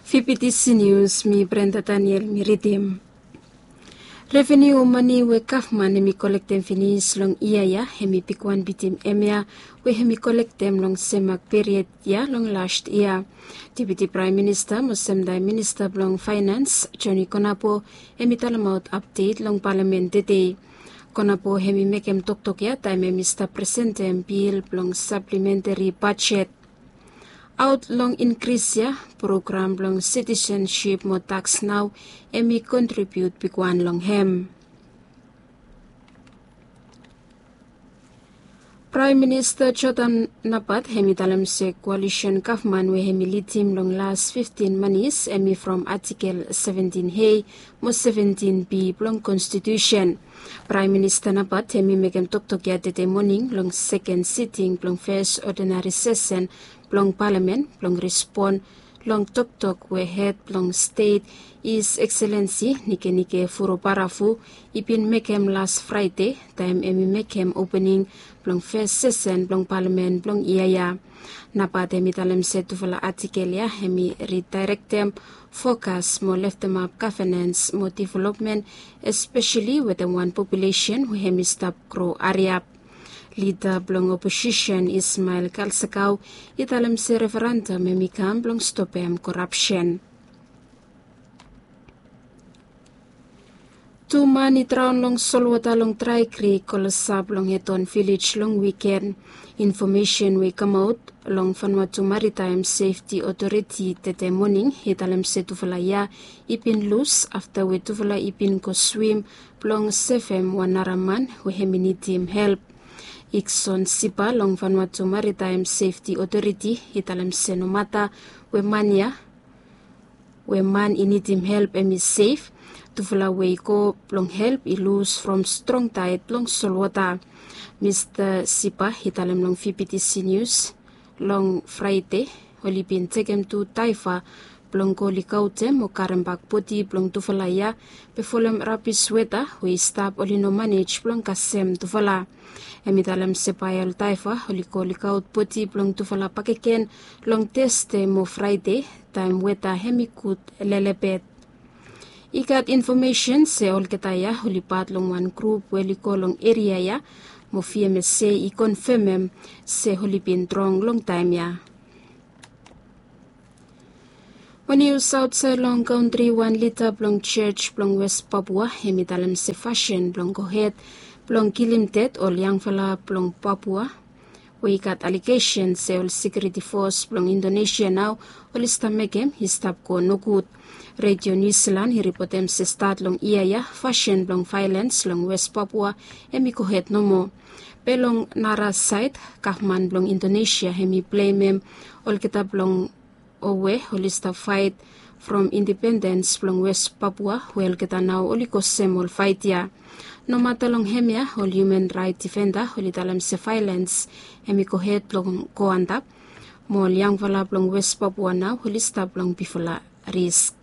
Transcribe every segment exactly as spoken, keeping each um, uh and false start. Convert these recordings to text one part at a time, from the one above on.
Fifty Seniors, mi Brenda Daniel, mi ridim. Reveniu o mane we gavman hemi kolektem finis long yia ya hemi bigwan bitim hemia we hemi kolektem long semak period ya long last yia. Deputi Praem Minista mo semtaem Minista blong Faenans, Joni Konabo, hemi talemaot apdet long Palamen tede. Konabo hemi mekem toktok ya taem hemi stap presentem bil blong saplementeri bajet. Aot long inkris ya, program blong sitisensip mo taks nao hemi kontribiut bigwan long hem. Praem Minista Jotam Napat hemi talem se koalisen gavman we hemi lidim long las fiftin manis hemi from Atikel seventin A mo seventin B blong Konstitusen. Praem Minista Napat hemi mekem toktok ya tede moning long seken siting blong fes odinari sesen blong Palamen blong respon long toktok we hed blong stet, His Excellency Nikenike Vurobaravu, i bin mekem las Fraede taem hemi mekem opening blong fes sesen blong Palamen blong yia ya. Napat hemi talem se tufala atikel ya hemi ridaerektem fokas mo leftemap gavenens mo developmen, espeseli wetem wan populesen we hemi stap gro hariap. Lida blong oposisen Ismael Kalsakau i talem se referendam hemi kam blong stopem korapsen. Tu man i draon long solwota long drae krik kolosap long Heton vilej long wiken. Infomesen we i kamaot long Vanuatu Maritaem Sefti Otoriti tede moning i talem se tufala ya i bin lus afta we tufala i bin go swim blong sevem wan nara man we hemi nidim help. Ikson Sipa long Vanuatu Maritaem Sefti Otoriti i talem se nomata we man ya we man i nidim help hemi sef, tufala we i go blong help i lus from strong taed long solwota. Mista Sipa i talem long Fifty Seniors long Fraede oli bin tekem tu daeva blong go likaotem mo karembak bodi blong tufala ya bifolem rabis weta we i stap oli no manej blong kasem tufala. Hemi talem se bae ol daeva oli go likaot bodi blong tufala bakegen long Teste mo Fraede taem weta hemi gud lelebet. I gat infomesen se olgeta ya oli pat long wan grup we oli go long eria ya mo V M S A i konfemem se oli bin drong long taem ya. Wan nius aotsaed long kantri, wan lida blong jos blong Wes Papua hemi talem se fasin blong gohed blong kilim ded ol yangfala blong Papua we i gat alegesen se ol sekiuriti fos blong Indonesia nao oli stap mekem i stap go nogud. Redio Niu Silan i ripotem se stat long yia ya fasin blong vaelens long Wes Papua hemi gohed nomo. Be long nara saed, gavman blong Indonesia hemi blemem olgeta blong o we oli stap faet from independens blong Wes Papua we olgeta nao oli go sem ol faet ya. Nomata long hemia ol hiuman raet difenda oli talem se vaelens hemi gohed blong go antap mo ol yangfala blong Wes Papua nao oli stap long bifala risk.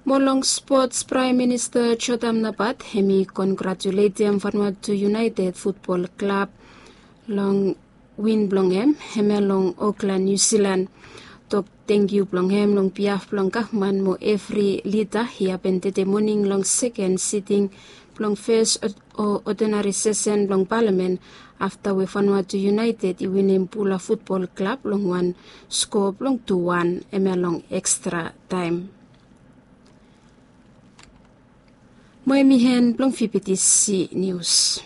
Mo long spots, Praem Minista Jotam Napat hemi kongratuletem Vanuatu United Futbol Klab long win blong hem hemia long Oklan, Niu Silan. Tok tangkiu blong hem long biaf blong gavman mo evri lida i hapen tede moning long seken siting blong fes o odinari sesen blong Palamen afta we Vanuatu United i winim Bula Futbol Klab long wan skoa blong tu wan hemia long ekstra taem. Mo hemi en blong Fifty Seniors.